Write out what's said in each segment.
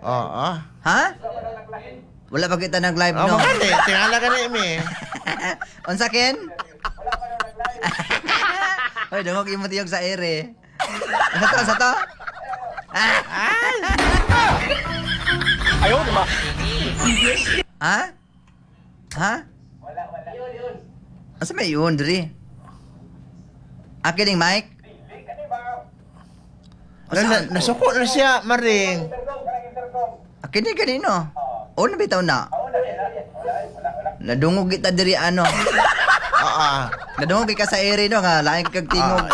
Oo. Ha? Wala pa kita nag-live, Oh, no? magani. Tingala ka ni mi. Unsa, Ken? Hoy, dungog imo tiyog sa ere. Unsa to? Unsa to? Ah! Ayaw, di ba? Ha? Ha? Wala, wala. Asa may yun, diri? Akin yung mic? Nasuko na siya, Maring. Akin ni kanino? O, nabitaw na. Nadungog kita diri ano. Oo. Nadungog ka sa ere no nga lain kag tingog.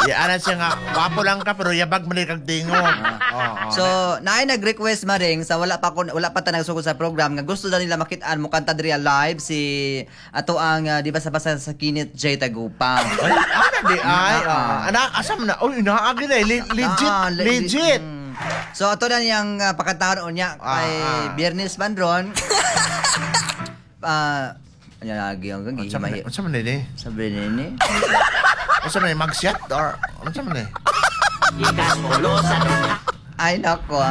Ya, ana siya nga, wapo lang ka pero yabag man kag tingog. Oo. So, naay nag-request maring sa wala pa ko wala pa ta nagsugod sa program nga gusto na nila makit-an mo kanta diri live si ato ang di ba sa basa sa Kinit J Tagupang. Ay, ana di ay. Ah. Ana asam na. Uy, naagi na. Legit, legit. So ato na niyang pakantahon unya kay Biyernes man ron. Ano lagi ang Unsa man gihimahi. unsa man ni? Sabi nini. Unsa man ni magshot or unsa man ni? Ay nako.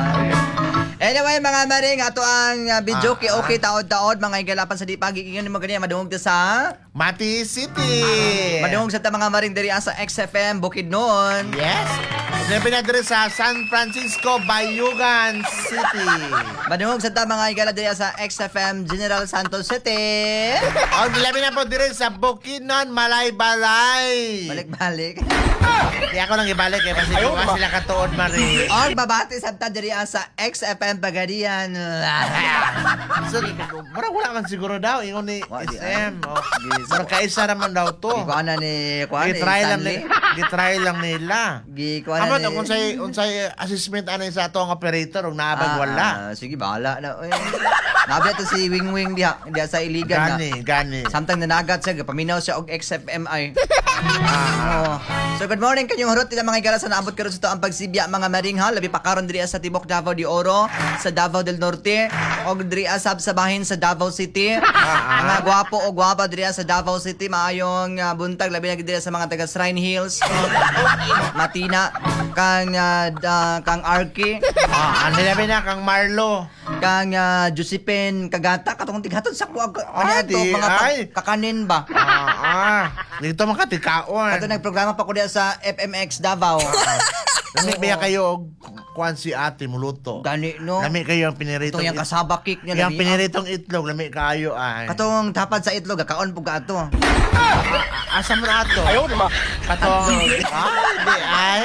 Anyway, mga maring, ato ang video kay okay taod-taod mga igalapan sa dipagi ingon mo ganiya madungog ta sa Mati City. Madungog sa ta mga maring diri sa XFM Bukidnon. Yes. Siyempre na diri sa San Francisco, Bayugan City. Madungog sa ta mga igala diri sa XFM General Santos City. O, labi na po diri sa Bukidnon, Malaybalay. Balik-balik. Di ako lang ibalik eh, kasi kung sila katuod, Marie. Og babati sa ta diri sa XFM Pagadian. So, murag wala man siguro daw, ingon ni Wa, di SM. Oh. Gi- Murag kaisa naman daw to. Gikuha na ni kuha ni Gitry lang Stanley. ni, gitry lang nila. Gikuha na Amo ni to kung unsay unsay assessment ani sa ato ang operator ug naabag wala. Sige, bahala na. Uy. Nabi to si Wing Wing diha, diha sa Iligan na. Gani, gani. Samtang nanagat siya, paminaw siya og XFMI. Oo. So good morning kanyong hurot nila mga igala sa naabot karon sa to ang pagsibya mga maring ha labi pa karon diri sa Tibok Davao de Oro, sa Davao del Norte og diri sab sa bahin sa Davao City. Mga gwapo o gwapa diri sa Davao City maayong buntag labi na gid diri sa mga taga Shrine Hills, Matina, kang kang Arki, Ang labi na kang Marlo. Kang Josephine Kagata katong tighatod sa kuag Ah, ano to di, mga ay. kakanin ba. Dito makatikaon. Kato nagprograma pa ko diya sa FMX Davao. Lami ba kayo og kuan si ate muluto? Gani no. Lami kayo ang piniritong Itong yung kasaba cake niya Yang lami. piniritong itlog lami kayo ay. Katong tapad sa itlog kaon pug ato. Asa man ato? Ayaw, di ba? Katong ay di ay.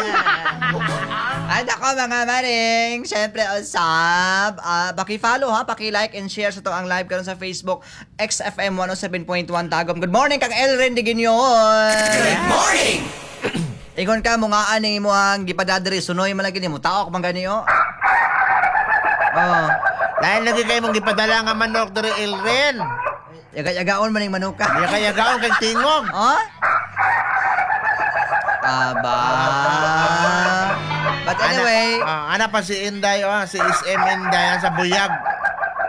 Ay nako mga maring, syempre usab, paki-follow ha, paki-like and share sa to ang live karon sa Facebook XFM 107.1 Tagum. Good morning kang Elren de Guinyon. Good morning. Ingon ka mo nga ani mo ang gipadadri sunoy man lagi nimo taok man gani oh. Oh, Dahil lagi kayo mong gipadala nga manok diri Elren. Yaga-yagaon man ning manuka. Di kaya gaon kay tingog. Oh? Aba. But anyway, Ana, ana pa si Inday oh, si SM Inday ah, sa buyag.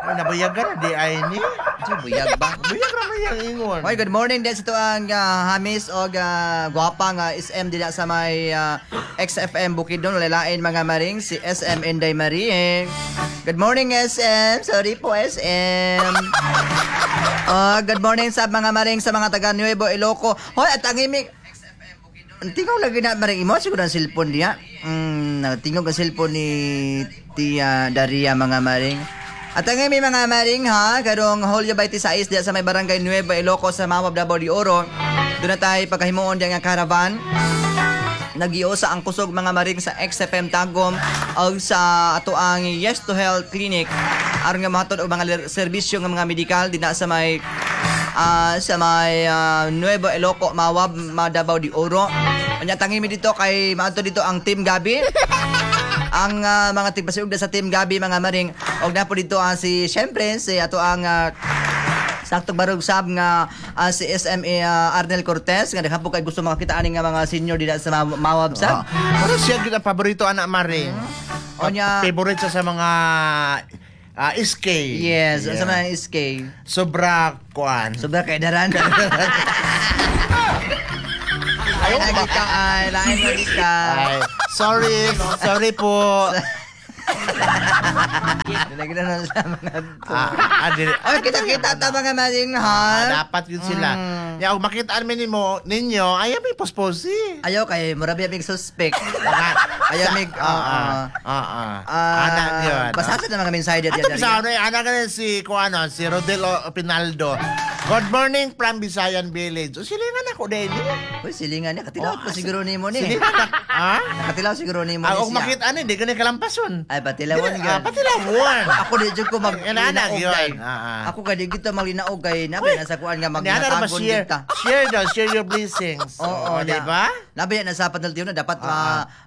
Ay, nabuyag ka na di ay ni. Diyo, buyag ba? Buyag ra man yang ingon. Hoy, good morning din sa tuang hamis og gwapa nga SM dila sa may XFM Bukidnon lalain mga maring si SM Inday Marie. Good morning SM. Sorry po SM. Oh, good morning sa mga maring sa mga taga Nuevo Iloco. Hoy, at ang imig ang tingog lagi na maring imo siguro ang cellphone niya. Tingog ang cellphone ni Tia Daria mga maring. At ang imi mga maring ha, karong Julio 26 diya sa may barangay Nueva Ilocos sa Mawab Davao de Oro. Doon na tayo pagkahimuon diya nga caravan. Nagiusa ang kusog mga maring sa XFM Tagum og sa ato ang Yes to Health Clinic aron nga mahatod og mga serbisyo nga mga medikal dinha sa may Nuevo Iloco, Mawab, Davao de Oro. Unya tangi mi dito kay maadto dito ang Team Gabi. Ang mga tigpasiugda sa Team Gabi mga maring og napo dito si syempre si ato ang saktong barog sab nga si SMA Arnel Cortez nga daghan po kay gusto makakita ani nga mga senior dida sa Mawab sab. Pero siya gyud ang paborito anak Maring. Onya- Favorite siya sa mga SK. Yes, Yeah. sa mga SK. Sobra kuan. Sobra kay daran. Ay, lagi ka, ay, lain lagi ka. Ay, sorry, sorry po. Dili na sa mga Ah, ah, dili. Oy, kita-kita ta, mga maring, ha. Ah, dapat yun sila. Ya, kung makitaan mi nimo ninyo, ayaw may posposi. Ayaw kay mura biya mig suspect. Ayaw mig Ah, ah, ah. Ana yun. Basta sa mga mensahe diya. Ato sa ano, eh, ana ka si kuano, si Rodel Pinaldo. "Good morning from Bisayan Village." O silingan ako din. Uy, silingan niya. Katilaw Oh, pa siguro nimo ni. Silingan na. Ha? Katilaw siguro nimo Ah, ni kung siya. makita ani, di ka ni kalampason. Ay, patilawon Dili, gyud. ah, patilawon. Ako di jud ko mag Yan, ana, linaog yun. kay. Ah, ah. Ako kay di gito maglinaog kay nabi na sa kuan nga Ni ana ra ba magnatagon share, kita. share daw, share your blessings. Oo, Oh, di ba? Nabi na sa panaltiyon na dapat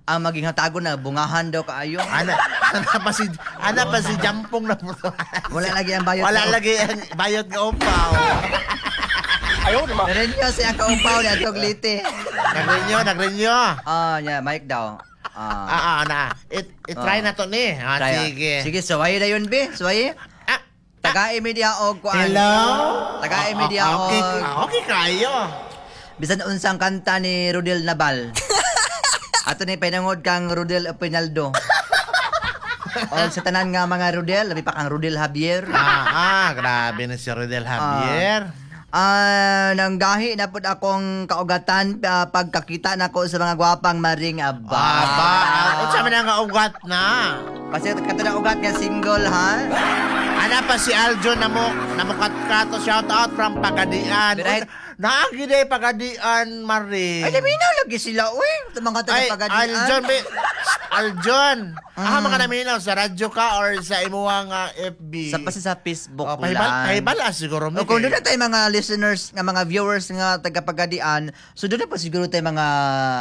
ang maging hatagon na bungahan daw kaayo. Ana pa si Jampong na po. Wala lagi ang bayot. Wala lagi ang bayot nga upaw. Ayaw naman. Narinyo siya kaupaw ni atog lite. Nagrenyo, nagrenyo. Ah, yeah, mic daw. Ah. Ah, ah, na. It try na to ni. Ah, Try, ah. sige. Sige, suway na yun, be. Suway. Ah, Tagai media og kuan. Hello? Tagai media Ah, okay, og ah, okay kayo. Bisan unsang kanta ni Rodel Nabal. Ato ni pinangod kang Rodel Pinaldo. O sa tanan nga mga Rodel, labi pa kang Rodel Javier. Ah, ah, grabe na si Rodel Javier. Ah, nanggahi na pud akong kaugatan pagkakita nako sa mga gwapang maring, aba. Aba, ah, unsa man nga ugat na? Kasi kato na ugat nga single, ha. Ana pa si Aljo namo namukatkato, shout out from Pagadian. Right. Naagi day Pagadian, Marie. Ay, laminaw lagi sila, uy. Ito mga Ay, taga-Pagadian. Aljon, may, Aljon. Ah, mga naminaw sa radyo ka or sa imuhang FB? Sa pa sa Facebook Oh, pahibal, lang. pahibal ah, siguro mi. O kung doon na tayo mga listeners, nga mga viewers nga taga-Pagadian, so doon na po siguro tayo mga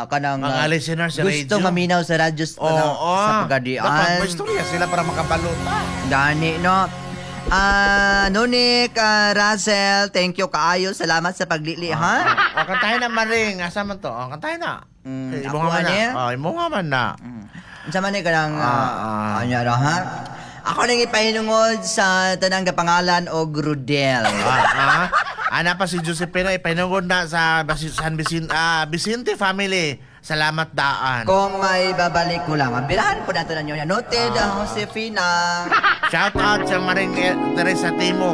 kanang Mga listeners sa gusto radyo. maminaw sa radyo sa, Oo. sa Pagadian. Dapat may istorya sila para makabalota. Gani, no? Ah, Nunik, Russell, thank you kaayo. Salamat sa paglili, ha? O, kantahin na, Maring. Asa man to? O, kantahin na. Eh, imo ako nga man na. ani? O, imo nga man na. Unsa man ni kanang Ah, ah. ano ra, ha? Ako nang ipahinungod sa tanang kapangalan og Rudel. Ah, ah. Ana pa si Josepina, ipahinungod na sa San Vicente, Vicente family. Salamat daan. Kung may babalik ko lang. Birahan po nato ninyo. Noted, Josefina. Shout out sa Maring Teresa Timog.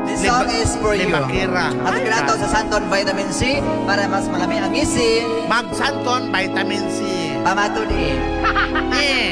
This song is for you. Limakira. At kinato sa Santon Vitamin C para mas malami ang ngisi. Magsanton Vitamin C. Pamatud eh. Eh.